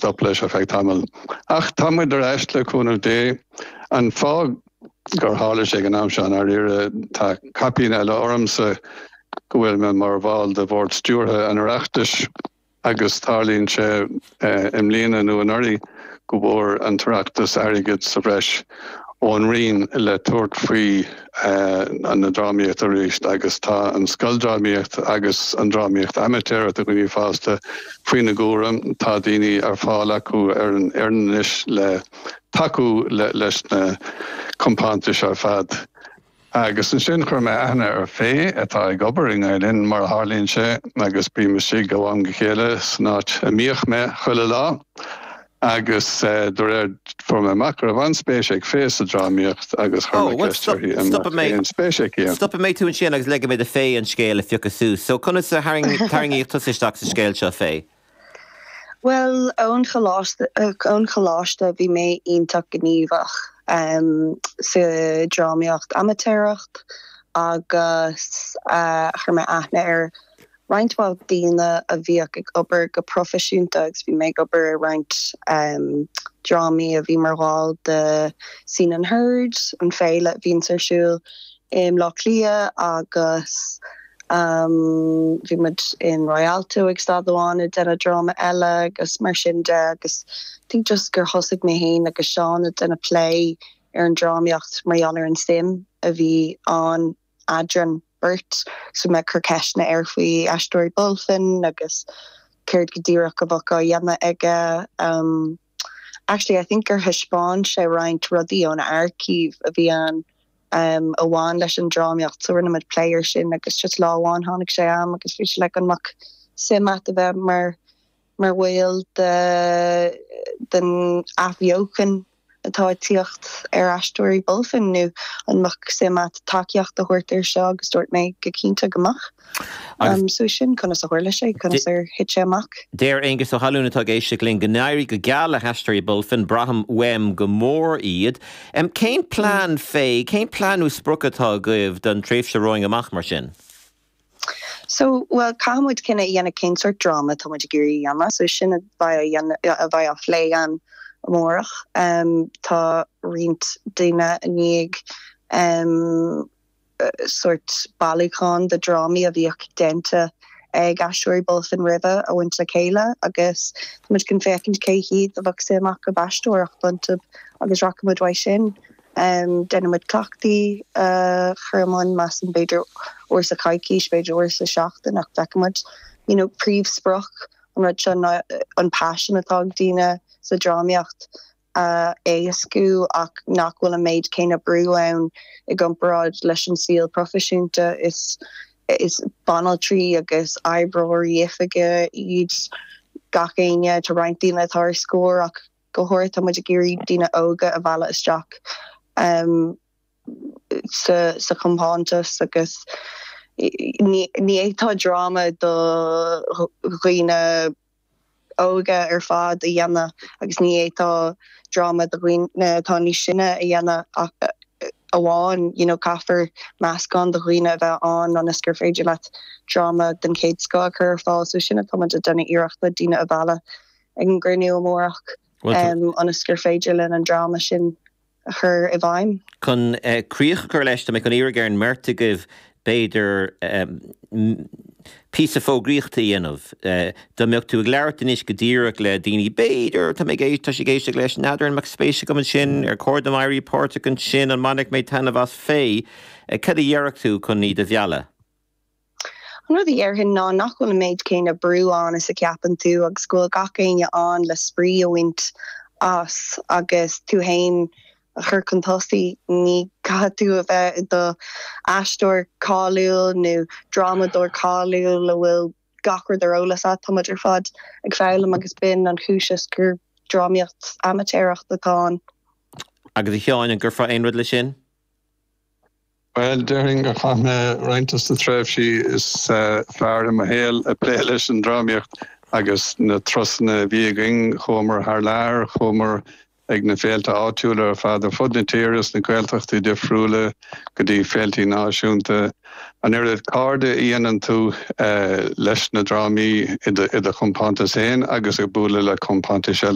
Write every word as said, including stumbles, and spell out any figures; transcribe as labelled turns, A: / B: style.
A: stop leis ar feadh tamaill. Ach tá muid ar ais le cúnamh Dé an fáth gur tharla sé an am seo ar tá caipín eile ormsa go bhfuil mé mar bhall de bhord stiúrtha an Oireachtais agus tarlaíonn sé i mbliana nó anuraidh go bhfuair an tOireachtas airgead sa bhreis ón Roinn le tabhairt faoi an na drámaíocht arís agus tá an scoildrámaíocht agus an drámaíocht amaitéarach do dhaoine fásta faoina gcúram tá daoine ar fáil acu ar an anois le tacú le, leis na compántais ar fad. Agus ansin chuir mé aithne ar Faye atá ag obair i nGael-Linn mar a tharlaíonn sé agus bím istigh ó am go chéile san áit a mbíodh mé chuile lá. agus uh, de réir fuair mé amach go raibh an-spéis ag Faye sa drámaíocht agus chuir mé spéis aici.
B: Stopfaidh mé tú ansin agus ligfidh mé do Faye an scéal a phiocadh suas, so conas a tarraingíodh tusa isteach sa scéal seo Faye.
C: Well ón choláiste ón choláiste bhí mé iontach gníomhach um, sa drámaíocht amaitéarach agus uh, chuir mé aithne ar roinnt mhaith daoine a bhíodh ag obair go proifisiúnta agus bhí mé ag obair ar roinnt um, drámaí a bhí mar bhall de Scene and Heard an féile a bhíonn ar siúl i mBaile Átha Cliath agus um, bhí muid in Rialto ag stad amháin ag déanamh dráma eile agus mar sin de agus think just gur thosaigh mé féin agus Seán ag déanamh plé ar an drámaíocht mar gheall ar an suim a bhí ann eadrainn beirt so mé ag cur ceisteanna air faoi Aisteoirí Bulfin agus céard go díreach a bheadh á dhéanamh aige um, actually I think gur thaispeáin sé roinnt rudaí ón archive a bhí an um, a bhain leis an drámaíocht so rinne muid plé air sin agus just lá amháin tháinig sé am agus bhí sé le an mbeadh suim agat a bheith mar mar bhall de den athbheochan atá ag tíocht ar Aisteoirí Bulfin nó an mbeadh suim agat tacaíocht a thabhairt air seo agus dúirt mé go cinnte go mbeadh. Um, so sin conas a tharla sé conas ar thit sé amach.
B: Deir Aengus Ó hAlún atá ag éisteacht linn go n-éirí go geal le hAisteoirí Bulfin braithim uaim go mór iad. Um, cén plean Faye, cén plean nó sprioc atá agaibh don tréimhse romhainn amach mar sin?
C: So well caithfimid cinneadh a dhéanamh cén sórt dráma tá muid ag iarraidh a dhéanamh, so sin a bheidh a bheidh á phlé an amárach. Um, tá roinnt daoine i ndiaidh um, sórt bailiúchán de drámaí a bhíodh déanta ag Aisteoirí Bulfin roimhe a bhaint le chéile agus muid chun féachaint cé hiad a bheadh suim acu aisteoireacht iontu agus rachaimid uaidh sin. Um, Déanaimid cleachtaí uh, chuman mas an b'fhéidir uair sa choicís b'fhéidir uair sa seachtain ach feicfimid you know, príomhsprioc an rud seo an passion atá ag daoine sa drámaíocht a éascú ach nach bhfuil an méid céanna brú ann i gcomparáid leis an saol proifisiúnta is is banaltraí agus oibreoirí oifige iad gach éinne tá roinnt daoine atá ar scor ach go háirithe tá muid ag iarraidh daoine óga a mhealladh isteach um, sa, sa chompántas agus ní ní dráma do dhaoine óga ar fad a dhéanamh agus ní tá dráma do dhaoine atá níos sine a dhéanamh amháin you know, caithfear meascán de dhaoine a bheith ann ionas gur féidir leat dráma den chéad scoth a chur ar fáil so sin atá ag déanamh iarracht daoine a mhealladh ag an gcruinniú amárach um, ionas gur féidir linn an dráma sin a chur i bhfeidhm.
B: Chun uh, críoch a chur leis mé chun iarraidh ar an mbeirt agaibh b'fhéidir um, píosa fógraíochta a dhéanamh. Uh, Dá mbeadh tú ag labhairt anois go díreach le daoine b'fhéidir tá mé tá sé géiste leis n'fheadar an mbeadh spéis agam ansin ar chóir dom éirí páirteach ansin an mbainfidh mé taitneamh as Faye, uh, cad a dhéarfadh tú chun iad a mhealladh.
C: An rud a dhéarfainn ná nach bhfuil an méid céanna brú ann is a cheapann tú agus go bhfuil gach éinne ann le spraoi a bhaint as agus tú féin a chur chun tosaigh ní caithfidh tú a bheith i do aisteoir cáiliúil nó drámadóir cáiliúil a bhfuil gach rud ar eolas agat tá muid ar fad ag foghlaim agus b'in an chúis is gur drámaíocht amaitéarach atá ann.
B: Agus a Sheáin an gcuirfeá aon rud leis sin?
A: Well déarfainn gur chaith mé roinnt de na tréimhsí is uh, fearr i mo shaol ag plé leis an drámaíocht agus na turasanna a bhí againn chuamar thar lear chuamar ag na féilte áitiúla ar fad ar fud na tíre sna Gaeltachtaí difriúla go dtí féilte náisiúnta. An oiread cairde a dhéanann tú leis na drámaí i do chompántas féin agus ag bualadh le compántais eile.